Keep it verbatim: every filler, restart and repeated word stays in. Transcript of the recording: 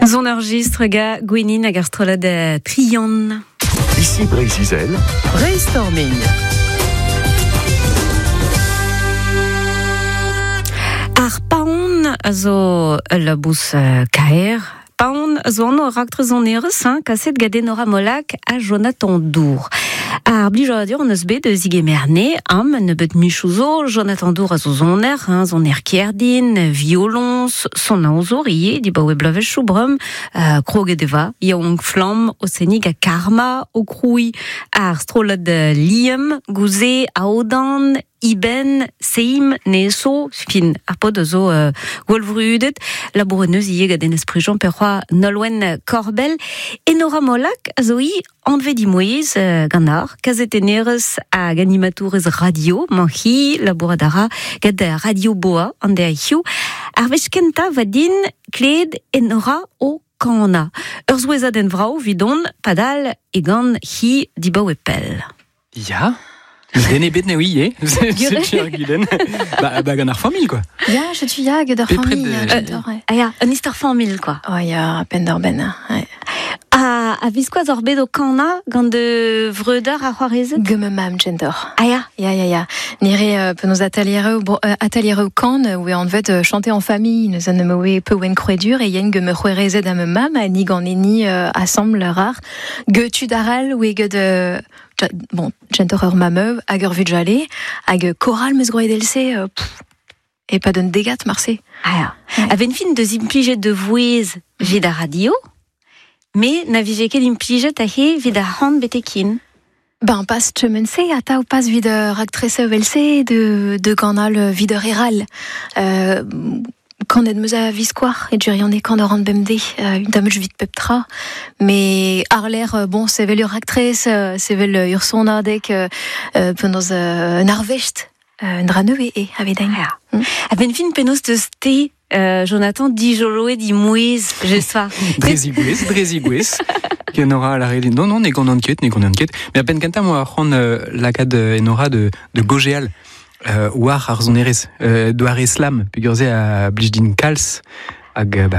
Zon ar gistr ga Gwenin hag ar strolad Trian. Ici Breiz-Izel. Brainstorming. Ar paon a zo ul labous kaer. Paon a zo an ur raktres an erez, hein, kaset gant Enora Molac ha Jonathan Dour. Ar blijadur an eus bet eus igemerne, am nebeut michouzo, Jonathan Dour a zo zoner, hein, zoner kerdin, violons, son aozour ie, di baoe blavechoù brum, euh, kroget eva, yaouank flamm, o senig a karma, o kroui ar strolad Liam, gouze, aodan, Iben, Seim, Neso, fin, ar pod a zo euh, gwallvrudet, labouret neus ie gant Enez Prigent perc'hoa Nolwenn Korbell, Enora Molac a zo i anvet dimouez euh, gant ar, kazetennerez hag animatourez radio, manchi, labourat a ra gant Radio Boa an de hiziv. Ar wech kentañ va din kled Enora o kana. Ur zouezadenn vrao vidon padal e gant hi dibaoe pell. Ya. Den ebet ne ouie, c'est ar gudenn. Ba, ba gant ar familh, quoi. Ya, setu ya, gant ar Bepred, familh, euh, j'adore, ouais. Ah ya, un istor familh, quoi. Oh, ya, penn d'ar benn, ouais. A, a viskoaz ar bet o kana gant de vreudeur ar c'hoarezed? Gant ma mamm, j'adore. Ah ya. Ya, ya, ya. Nire, euh, penaos atelier, bon, euh, atelier kan, oe anvet euh, chanter en famille, nous en oe peu oen kroedur, e yen gant ma c'hoarezed ha ma mamm, ha ni gant eni euh, assemble rar. Ge tud aral, oe gant, euh, ja, bon, j'adore ur mammeu, hag ur vugale, hag choral meus groet else, euh, pff, e pa d'un degat marse. Ah ya. Ouais. A ben fin deus implijet de vouez vid ar radio, me na vije ket implijet a he vid ar c'hant betekin. Ben, pas chemen-se, ata ou pas vid ur actrice else de, de ganal vid ur eral. Euh, quand ed meus a viskoar, e durian e kan ur an bemde, euh, une dame vit pep tra. Mais ar l'air, euh, bon, c'est vel ur actrice, euh, c'est vel ur sonadek, euh, euh, penaos, euh, un arvest, euh, un dra neue e, a vedain. Ah. Mm. A ben fin penaos deus te, euh, Jonathan, dijoloe di mouez, je soir. Drezigouez, drezigouez. Enora a la Non, non, ne gant an ket, ne gant an ket. Mais a ben kentañ moa c'hoant euh, lakaat Enora de, de gogeal. Euh, war ar sonerezh, euh, doare slam, peogwir se a blij din kalz, hag, bah,